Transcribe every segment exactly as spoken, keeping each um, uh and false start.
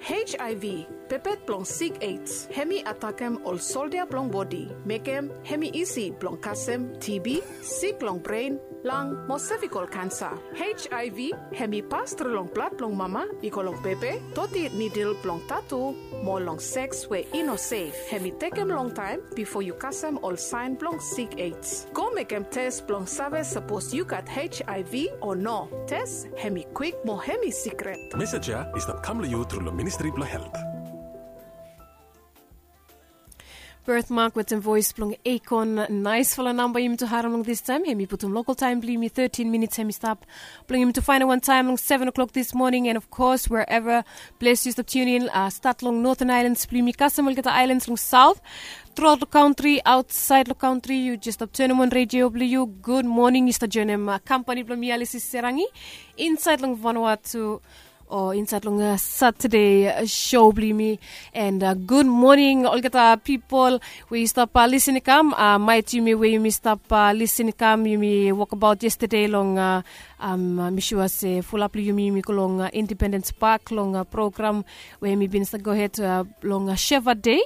Hiv, pepet blong sik aids, hem i atakem ol soldia blong bodi, mekem hem i isi blong kasem TB, sik long bren, lang mo sevikol kansa. Hiv hem i pas tru long blad blong mama i go long pepe, toti nidil blong tatu, mo long seks we i no sef. Hem i tekem longtaem bifo yu kasem ol saen blong sik aids. Go mekem tes blong save sapos yu gat Hiv o no. Tes hem i kwik mo hem i sikret. Mesej ya i stap kam long yu tru long Ministri blong Helt. Birthmark wetem voes blong Akon. Naesfala namba yumi tu harem long distaem. Hem i putum lokal taem blong yumi, thirteen minits hem i stap blong yumi tu faenem wan taem long seven o'clock this morning. And of course, wherever ples yu stap tunin, uh, stat long Northern Islands blong yumi kasem olgeta aelans long saot, truaot long kantri, aotsaed long kantri, yu jes stap tanem on redio blong yu. Gud moning. Yu stap joenem, uh, kampani blong mi, Alisi Serangi, insaed long Vanuatu, o insaed long, uh, Satade, uh, sou blong yumi. And, uh, gud moning olgeta pipol we yu stap, uh, lisin i kam, uh, maet yumi we yumi stap, uh, lisin i kam, yumi wokbaot yestade long, uh, um, uh, mi sua se fulap long yumi yumi go long, uh, Independens Pak long, uh, program we mi bin stap gohed, uh, long, uh, Sheva Dei.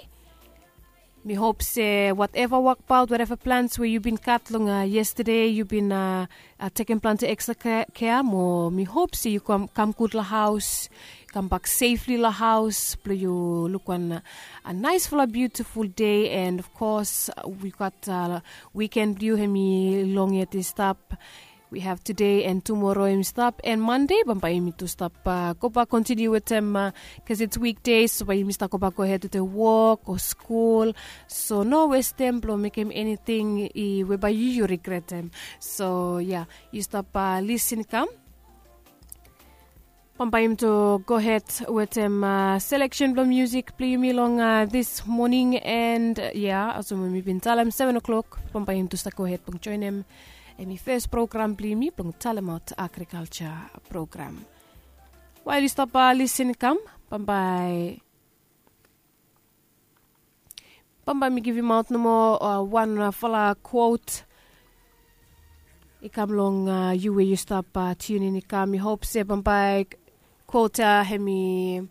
Mi hop se wateva wokbaot, wateva plans we yu bin gat long, uh, yestade, yu bin, uh, uh, tekem plante ekstra kea, kea mo mi hop se yu kam, kam gud long haos, kambak sefli long haos blong yu luk wan, uh, naesfala biutiful dei. And of course, uh, wi gat, uh, wiken blong yu hem i long yet i stap. We have today and tomorrow hem i stap, and Monday bambae yumi tu stap, uh, gobak kontiniu wetem, uh, cause it's weekdays, so bae yumi stap gobak gohed wetem wok o skul. So no westem blong mekem eniting i we bae yu yu rigretem. So ya, yu stap, uh, lisin i kam. Bambae yumi tu gohed wetem, uh, seleksen blong musik blong yumi long, uh, this morning. And, uh, ya, olsem we mi bin talem, seven o'clock bambae yumi tu stap gohed blong joenem hem i fes program blong yumi blong talemaot agrikalja program. Wael yu stap, uh, lisin i kam, bambae bambae mi givimaot nomo, uh, wan, uh, fala kwot i kam long, uh, yu we yu stap, uh, tunin i kam. Mi hop se bambae kwot ya hem i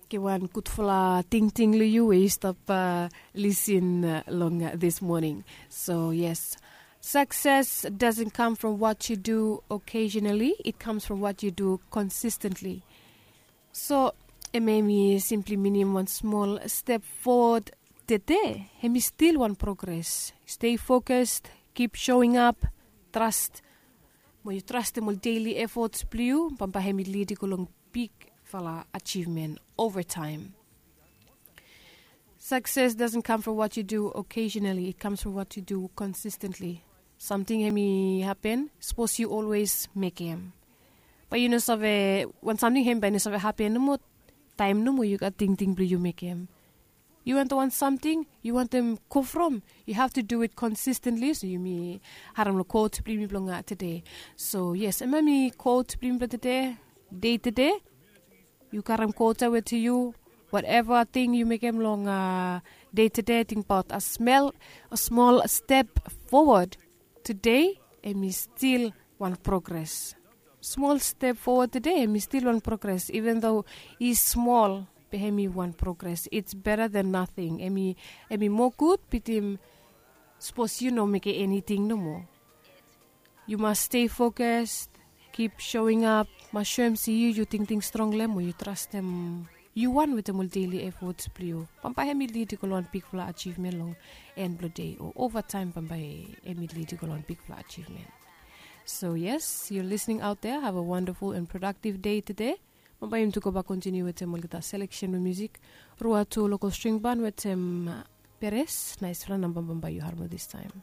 givim wan gudfala tingting long yu we yu stap, uh, lisin, uh, long, uh, this morning. So yes, success doesn't come from what you do occasionally, it comes from what you do consistently. So, hemia i simpli minim wan smol step fowod tede, hemi stil wan progres. Stay focused, keep showing up, trust. Mo yu trastem ol daily efforts blong yu, bambae hemi lid i go long bigfala achievement over time. Success doesn't come from what you do occasionally, it comes from what you do consistently. Samting hemi hapen, sapos yu always mekem. Bae yu no save, wan samting hemi bae i no save hapen nomo taem nomo yu gat tingting blong yu mekem. Yu wantem wan samting, yu wantem go from, you have to do it consistently. So yumi harem long quote blong yumi blong tede. So yes, hemia hemi quote blong yumi blong tede, dei tede. Yu karem quote ya wetem yu, whatever ting yu mekem long dei tede, tingbaot a smol, a smol step fowod tede, hemi stil wan progres. Smol step fowod tede, hemi stil wan progres, even though i smol, be hemi wan progres. It's better than nothing. Hemi, hemi moa gud bitim sapos yu no mekem eniting nomo. Yu mas stay focused, keep showing up, mas soem se yu, yu tingting strong long hem, o yu trastem yu wan wetem ol daily efforts blong yu. Bambae hemi lid i go long wan bigfala achievement long en blong dei, o over time bambae hemi lid i go long wan bigfala achievement. So yes, you're listening out there, have a wonderful and productive day tede. Bambae yumi tu gobak kontiniu wetem olgeta seleksen blong musik. Ruatu Local String Band wetem Peres, naesfala namba bambae yu harem long distaem.